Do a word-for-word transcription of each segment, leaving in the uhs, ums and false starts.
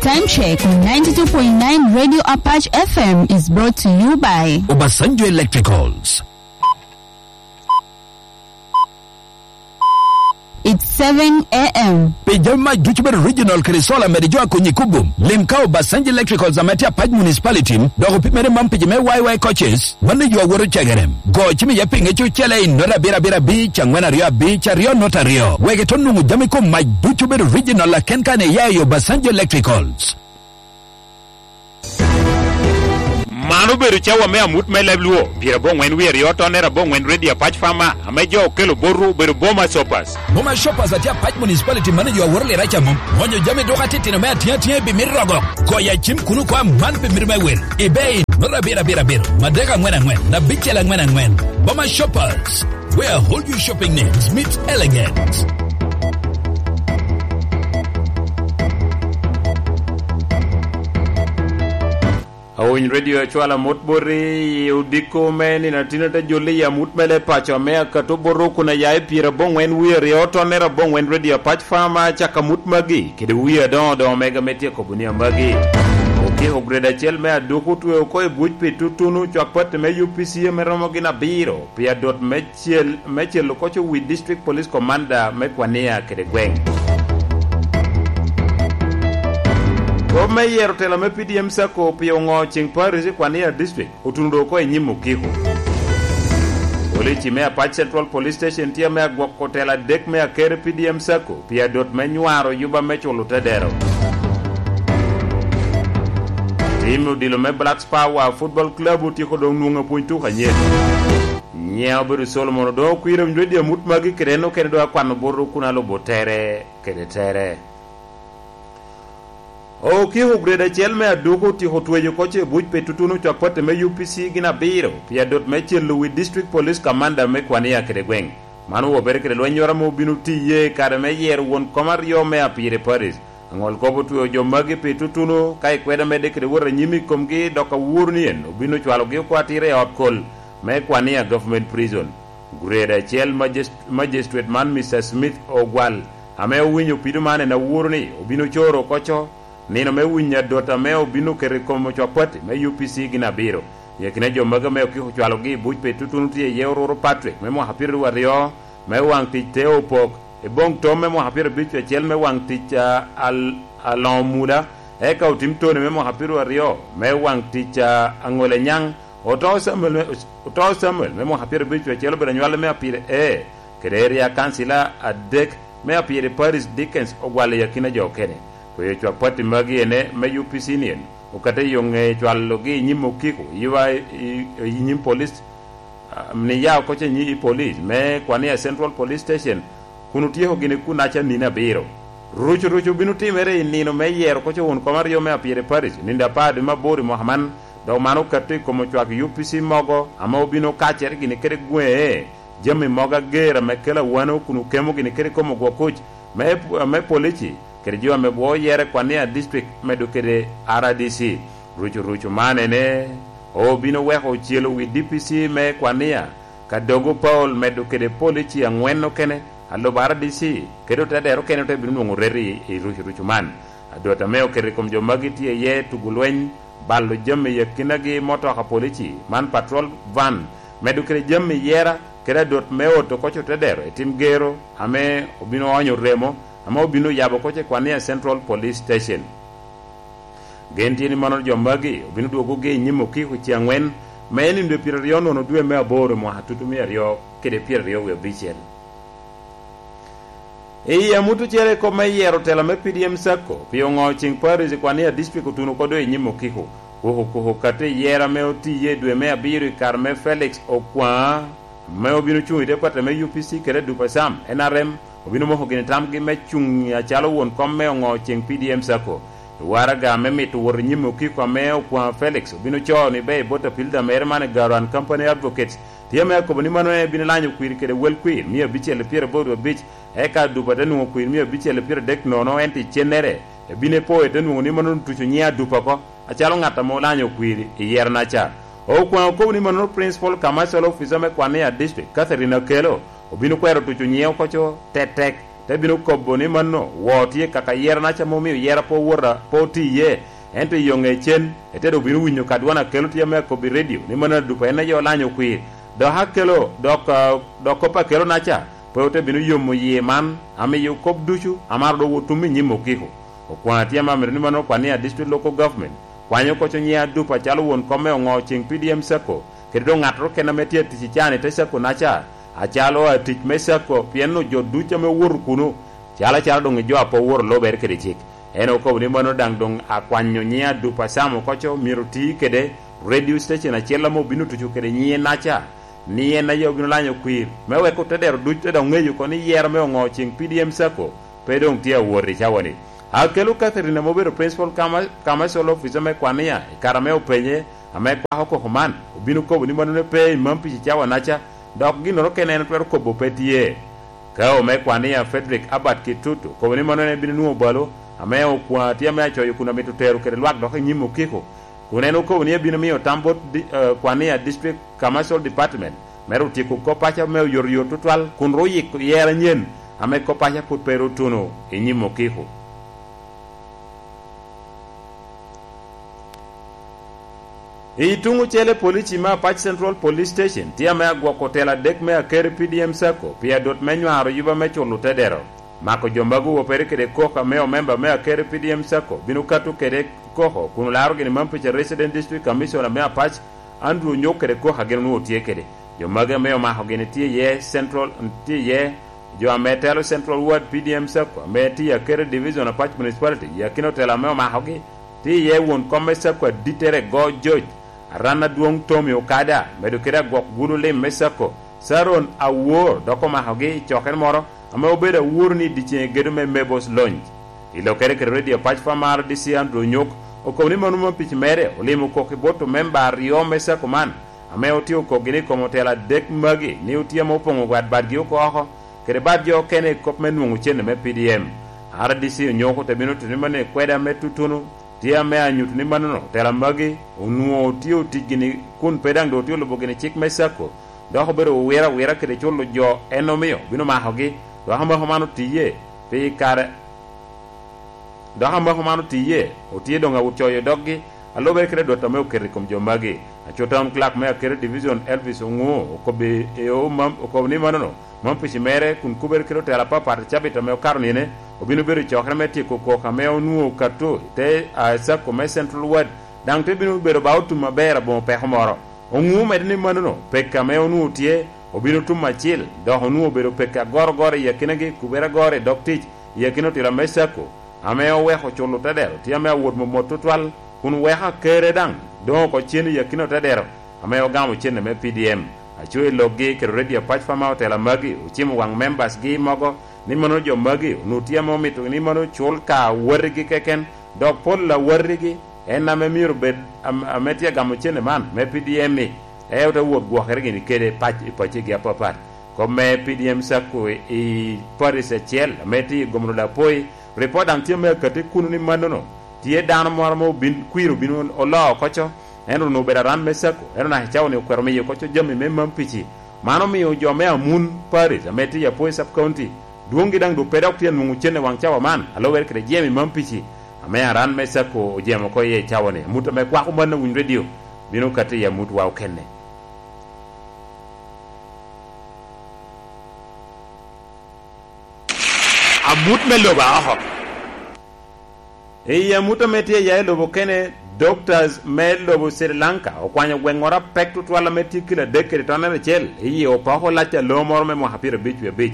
Time check on ninety-two point nine Radio Apache F M is brought to you by Obasanjo Electricals. It's seven a m. Pi jami mac ducu bedo original kede solar, mede jo a konyi kubum. Lim ka Obasanjo Electricals ame tye Apac Municipality, dok opimere man pi jo me Y Y coaches, mano yo awoto cegerem. Go cim iye pinge cucele i nota abiro abiro abic, angwen aryo abic, aryo nota aryo. Wek ito nwoŋo jami kom mac ducu bedo original aken kan iya i Obasanjo Electricals. Man obedo cawa me amut me leb Luo, pyerabongwen wie aryo tonner abongwen Ready Apac Farmer, ame jo okelo botwu obedo Boma Shoppers. Boma Shoppers atye Apac Municipality, mano jo aworo lira ca mom. Onyo jami duka titino me atiŋ atiŋ i bimit rogo. Goyo acim kuno kwa man pi mito me wel. Ibe i nota abiro abiro abiro, madek angwen angwen, na bicel angwen angwen. Boma Shoppers, where all your shopping needs meet elegance. Awiny Radio acwala mot boti i odiko me nino atino te jolli i amut mele paco ame akato botwu kun aya i pyerabongwen wie aryo tonner abongwen Radio Apac Farmer, caka amut magi kede wie adoŋo doŋo mega me tyeko bunia magi. Okiko grade acel me aduku otweo oko i buc pi tutunu cwak pati me U P C ame romo gin abiro pi adot me cel, me celo koco wi District Police Commander me Kwania kede gweŋ. Kop me yero tela me P D M Sacco pi oŋo ceŋ Paris i Kwania District otuno doŋ oko i nyim okiko. Polici me Apac Central Police Station tye ame agwoko tela adek me aker P D M Sacco pi adot me nywaro yuba me culo tedero. Tim odilo me Blacks Power Football Club otyeko doŋ nwoŋo apwony tuk anyet. Nyiŋa obedo Solomon, odoŋo kwira winyo di amut magi kede en okene doŋ akwano botwu kun alubo tere kede tere. Okiko grade acel me aduku otyeko tweyo koco i buc pi tutunu cwak pati me U P C gin abiro pi adot me celo wi District Police Commander me Kwania kede gweŋ. Man owobere kede lwennyoro ame obino tiye i kare me yero won kom aryo me Apiri Parish. Aŋol kop otweo jo magi pi tutunu, ka ikweda medde kede wot anyim i komgi, dok aworo ni en obino cwalogi okwatira i ot kol me Kwania Government Prison. Grade acel magis-, magistrate man, Mister Smith Ogwal, ame owinyo pido man, en aworo ni obino coro koco nino me winyo adot ame obino keto i kom ocwak pati me U P C gin abiro. I akina jo magi ame okiko cwalogi i buc pi tutunu tye iye Oruru Patrick me mwaka pyeraryo aryo, me waŋ tic Teo Opok, Eboŋ Tom me mwaka pyerabic acel me waŋ tic, a, al-, Aloŋo Muda, eka Otim Tony me mwaka pyeraryo me waŋ tic, a, Aŋole Nyaŋ, Oto Samuel me, Oto Samuel me mwaka pyerabic acel obedo anywale me Apire A, kede area councilor adek me Apire Parish Dickens Ogwal i akina jo okene. Kweyo cwak pati magi ene me U P C nien, okate yo ŋe cwalogi i nyim okiko, i wa-, i, i nyim police, a, ni ya oko ce nyi i police me Kwania Central Police Station, kun otyeko gini kunaca nino abiro. Rucu rucu bino timere i nino me yero koco won kom aryo me Apire Parish, nino apar dwe me aboro i mwaka man, dok man okato i kom ocwak U P C mogo, ame obino kacere gini kede gweŋe, jami mogo ager ame kelo awano kun okemo gini kede kom ogwok kuc me, me polici, kede jo ame bwo yere Kwania District medo kede R D C. Rucu rucu man ene obino weko ocelo wi D P C me Kwania, Kadogo Paul medo kede polici aŋwen okene, alubo R D C, kede otedero okene ote bino nwoŋo reti i, i rucu rucu man. Adwot ame oketo i kom jo magi tye iye tugo lweny, balo jami i akinagi, motoka polici, man patrol van, medo kede jami yera, kede adwot me oto koc otedero i tim gero ame obino onyo remo, ame obino yabo koc i Kwania Central Police Station. Gen tye ni mano jo magi obino dwogogi i nyim okiko ce aŋwen, me nino dwe pyeraryo nono dwe me aboro i mwaka tutu mia aryo kede pyeraryo wie abicel. I amut ocele i kop me yero tela me P D M Sacco, pi oŋo ceŋ Paris i Kwania District otuno kodo i nyim okiko, kuku kuku kati i yera ame otiye i dwe me abiro i kare me Felix Okwaŋ, ame obino cuŋ i department me U P C kede Dupa Sam, N R M, obino moko gini tamgi me cuŋ acalo won kom me oŋo ceŋ P D M Sacco. I waraga me mito wot i nyim okiko ame Okwaŋ Felix obino coo ni ber i bot apil da mere man i Garan Company Advocates, tye ame akobo ni mano en ebino lanyo kwir kede wel kwir mia abicel i pyeraboro wie abic, eka Adupa te nwoŋo kwir mia abicel i pyeradek nono, ento i cennere ebino epo ete nwoŋo ni mano otuco nyiŋ Adupa oko, acalo ŋat ame olanyo kwir i yero-naca. Okwaŋ okobo ni mano Principal Commercial Officer me Kwania District, Catherine Akello, obino kwero tuco nyiŋe oko co tetek, Te bino kobo ni mano, woo tye kaka yera-naca ame omio yera pe owota, pe otye iye, ento i yo ŋecen, ete dok bino winyo ka dwan akelo tye ame akobbi i redio, ni mano adupa en aye olanyo kwir. Dok akelo, dok, ah, dok kop akelo-naca, pe ote bino yomo yie man, amiyo kop ducu, amaro dok otum i nyim okiko. Okwaŋ atye ame amito ni mano okwan ni a District Local Government, kwanyo koco nyiŋ adupa acalo won kom me oŋo ceŋ P D M Sacco, kede doŋ ŋattoro kene ame tye atic i can i te Sacco-naca, acalo atic me Sacco, pien onwoŋo jo ducu ame owoto kuno, calo acalo doŋ i jo a pe owoto lubere kede cik. En okobo ni mano daŋ doŋ akwanyo nyiŋ adupa Sam okoco myero oti kede radio station acel ame obino tuco kede nyiŋe-naca, ni en aye obino lanyo kwir, me wek otedero ducu te dok ŋeyo oko ni yero me oŋo ceŋ P D M Sacco pe doŋ tye awot i cawa-ni. Akelo Catherine ame obedo Principal Commer-, Commercial Officer me Kwania i kare ame openye, ame kwako koko man, obino kobo ni mano ne pe i Mampic i cawa-naca, dok ginnoro kene en twero kobo pe tye. Ka ome Kwania Frederick Abbott Kitutu, kobo ni mano en bino nwoŋo balo, ame okwaŋ tye ame acoyo kun amito tero kede lwak dok i nyim okiko, kun en okobo ni ebino miyo tam bot di-, eh, Kwania District Commercial Department me ru tyeko kop paco me oyotoyot tutwal, kun ru yiko yero anyen ame kop paco pwod pe ru tuno i nyim okiko. I tuŋ ocele, polici me Apac Central Police Station tye ame agwoko tela adek me Akeri P D M Sacco pi adot me nywaro yuba me culo tedero. Mako jo magi owopere kede koko ame omemba me Akeri P D M Sacco bino kato kede koko kun olaro gini Mampic a Resident District Commissioner me Apac, Andrew Onyok kede koko a gin onwoŋo tye kede. Jo magi ame omako gini tye iye Central, tye iye jo ame telo Central Ward P D M Sacco ame tye i Akeri Division Apac Municipality, i akina otela ame omakogi, tye iye won kom me Sacco adittere Go George, aran adwoŋ Tommy Okada, medo kede agwok gudo lim me Sacco, Saron Awor, dok omakogi i cokere moro ame obedo aworo ni i dyeceŋ egedo me Mabel's Lounge. I lokere kede Radio Pac Farm R D C Andrew Onyok okobo ni mano Mampic mere olimo kok i bot omemba aryo me Sacco man, ame otye okokgi ni i kom otela adek magi ni otye ame opoŋo wat badgi oko oko, kede bad jo okene i kop me nwoŋo cente me P D M. R D C Onyok ote bino tito ni mano i kweda me tutunu tye ame anyuto ni manono, otela magi onwoŋo tye otic gini kun pe daŋ doŋ otye olubo gini cik me Sacco, dok obedo owiro awira kede culo jo en omio bino makogi, dok amako man otiye pi kare, dok amako man otiye, otye doŋ awot coyo doggi, a lubere kede dwot ame oketo i kom jo magi. Aco Town Clerk me Akeri Division Elvis Oŋuo okobbi i o mam-, okobo ni manono, Mampic mere kun kubere kede otela apapat i cabit ame okato nine, obino bedo i cokere me tyeko koko ame onwoŋo okato i te, a, Sacco me Central Ward, daŋ te bino bedo ba otum aber aboŋo peko moro. Oŋuo medo ni manono, peko ame onwoŋo tye, obino tum acil, dok onwoŋo obedo peko agorogoro i akinagi, kubere agoro i dog tic, i akina otela me Sacco, ame oweko culo tedero tye ame awot momot tutwal, kun weko akere daŋ doŋ oko cen i akina otedero ame ogamo cente me P D M. Aco i lokgi kede Radio Pac Farm Hotel magi ocimo waŋ members gi mogo ni mano jo magi onwoŋo tye ame omito ni mano cul ka awatigi keken, dok pol awatigi en ame myero bed am-, ame tye agamo cente man me P D M-mi, e ote wot gwokere gini kede pac-, i pacigi apapat. Kop me P D M Sacco i parish acel ame tye i Gomolo Lapoi, ripot daŋ tye me akati kuno ni manono tye dano moro ame obin, kwir obin oloo oko co, en onwoŋo obedo aran me Sacco, en onaka i cawa-ni okwero miyo oko co jami me Mampici. Man omio jo me Amun Parish ame tye i Apoi Sub County, dwoŋgi daŋ doŋ pe dok tye anwoŋo cen i waŋ cawa man, a lubere kede jemi Mampici ame aran me Sacco ojemo oko iye i cawa-ni. Amut ame kwako man a Winy Radio bino kati i amutwa okene. Amut me lobo aoko. I amut ame tye ya i lobo kene, doctors me lobo Sri Lanka okwanyo gweŋŋoro apek tutwal ame tye kilo adek kede tonere acel i yi opoko lac a loo moro me mwaka pyerabic wie abic.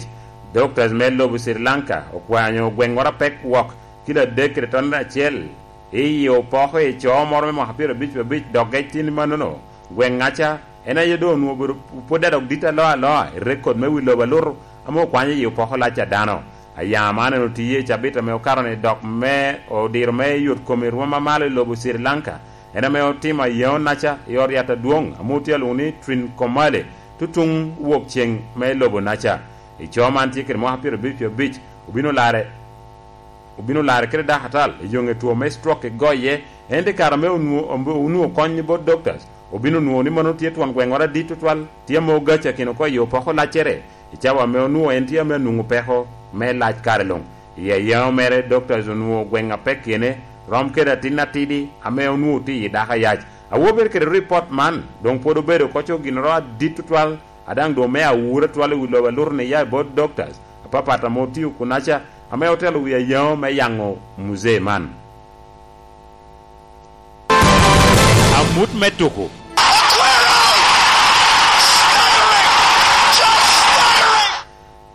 Doctors me lobo Sri Lanka okwanyo gweŋŋoro apek wok kilo adek kede tonere acel i yi opoko i coo moro me mwaka pyerabic wie abic, dok gec tin mannono gweŋŋaca en aye doŋ onwoŋo obedo pwod adok dit aloa aloa i rekod me wi lobo alutu ame okwanyo i opoko lac a dano. Aya man en otiye i cabit ame okato-ni, dok me odiro me yot kom i rwom amalo i lobo Sri Lanka, en ame otimo ayeonaca i ot yat adwoŋ ame otye alwoŋo ni Trincomalee, tutuŋ wok ceŋ me lobo-naca. I coo man tye kede mwaka pyerabic abic, obino larre obino larre kede dakatal i yoŋe two me stroke i goye, ento i kare ame onwo-, onwo-, onwoŋo kony bot doctors, obino nwoŋo ni mano tye twon gweŋŋoro adit tutwal, tye ame ogaci akino oko i opoko laccere, i cawa ame onwoŋo en tye ame anwoŋo peko me lac kare luŋ. I ayeŋo mere, Doctors onwoŋo gweŋ a pekkiene rom kede atin atidi ame onwoŋo tye i dako ayac. Awobe kede ripot man doŋ pwod obedo koco ginnoro adit tutwal, a daŋ doŋ me awura twal i wi lobo a Lurni ya i bot Doctors apapat ame otio kunaca, ame otelo wi ayeŋo me yaŋo muzee man. Amut me tuko.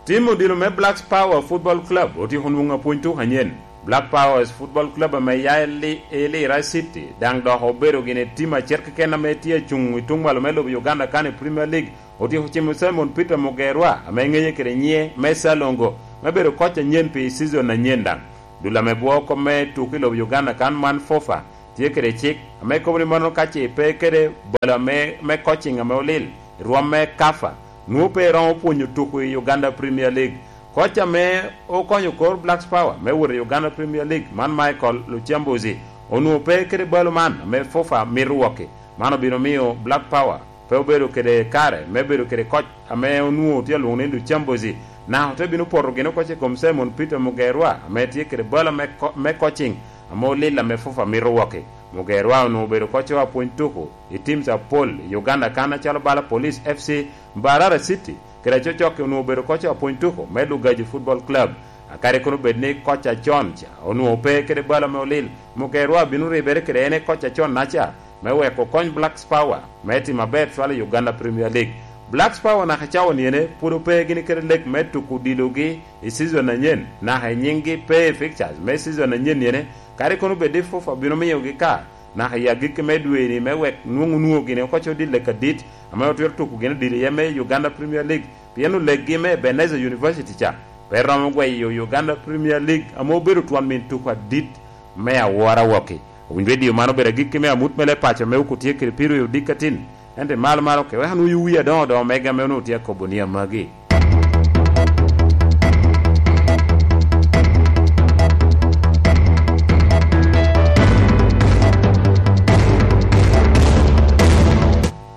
Tim odilo me Blacks Power Football Club otyeko nwoŋo apwony tuko anyen. Black Powers Football Club ame ya i Li-, i Lira City daŋ dok obedo gin i tim acel keken ame tye acuŋ i tuŋ malo me lobo Uganda kan i Premier League. Otyeko cimo Simon Peter Mugerwa, ame ŋeye kede nyiŋe me Salongo, me bedo koc anyen pi season anyen daŋ. Dul ame bwoo kop me tuko i lobo Uganda kan man FUFA tye kede cik ame kobo ni mano ka ce pe kede balo ame, me coaching ame olil i rwom me kafa, nwoŋo pe eromo pwonyo tuko i Uganda Premier League. Koc ame okonyo kor Blacks Power me wot i Uganda Premier League man, Michael Luchambuzi, onwoŋo pe kede balo man ame FUFA mito wokki. Man obino miyo Black Power pe obedo kede kare me bedo kede koc ame onwoŋo tye alwoŋo ni Luchambuzi, naka ote bino poto gin okoc i kom Simon Peter Mugerwa ame tye kede bala me ko-, me coaching ame olil ame FUFA mito wokki. Mugerwa onwoŋo obedo koc apwony tuko i teams apol i Uganda kan acalo bala Police F C, Mbarara City, kede acocokki onwoŋo obedo koc apwony tuko me Lugaji Football Club. Akadi kono bed ni koc acon ca onwoŋo pe kede bala me olil, Mugerwa bino ribere kede en i koc acon-naca me wek okony Blacks Power me timo aber twal i Uganda Premier League. Blacks Power naka i cawa niene pwod ope gini kede lek me tuko odilogi i season anyen, naka i nyiŋgi pe i fixtures me season anyen niene, kadi kono bed ni FUFA bino miyogi ka naka i agikki me dwe-ni me wek nwoŋ onwoŋo gini oko odil lek adit ame otwero tuko gin odil iye me Uganda Premier League, pien oleggi me Ebenezer University ca pe romo gweyo Uganda Premier League ame obedo twon min tuko adit me awora wokki. Owiny redio man obedo agikki me amut me leb paco ame okutye kede Piru i odikatin, ento i malo malo ke wek anwoŋ wi adoŋo doŋo mega ame onwoŋo tye akobo ni amagi.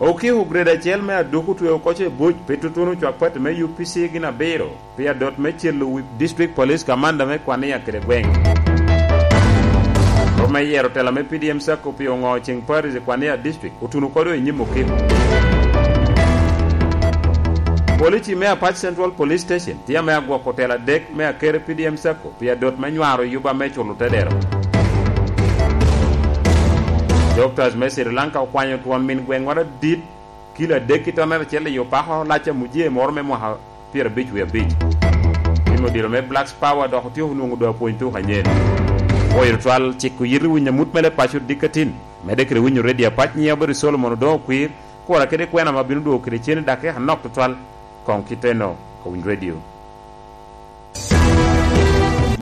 Okiko grade acel me aduk otweo koco i buc pi tutuno cwak pati me U P C gin abiro pi adot me celo wi District Police Commander me Kwania kede gweŋ. Rwom me yero tela me P D M Sacco pi oŋo ceŋ Paris i Kwania District otuno kodo i nyim okiko. Polici me Apac Central Police Station tye ame agwoko tela adek me akere P D M Sacco pi adot me nywaro yuba me culo tedero. Doctors me Sri Lanka okwanyo twon min gweŋ ŋwat adit kilo adek ki tonere acel i opako lac a mujee moro me mwaka pyerabic wie abic. Tim odilo me Blacks Power dok otyeko nwoŋo doŋ apwony tuko anyen. Pwoyo twal ciko yit i winyo amut me leb paco dikatin. Medde kede winyo redio apac nyiŋe obedo Solomon Odoŋo Kwir, kura kede kwena ma bino dwogo kede cen i dakika anok tutwal. Koŋ kiteno, Owiny redio.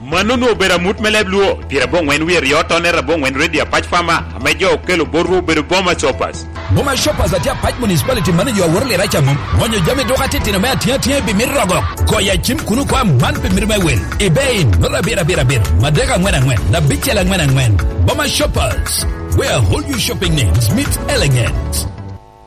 Mano onwoŋo obedo amut me leb Luo, pyeraboŋwen wie aryo tonere aboŋwen redio apac Fama, ame jo okelo botwu obedo Boma Shoppers. Boma Shoppers atye Apac Municipality Manager Awor Liraca mom. Ŋonyo jami duka titino me atyeŋ atyeŋ pi mito rogo. Koya cim kuno kwa man pi mito me wel. Ibein, nola abiro abiro abiro, madek aŋwen aŋwen, abicel aŋwen aŋwen. Boma Shoppers, where all your shopping needs meet elegance.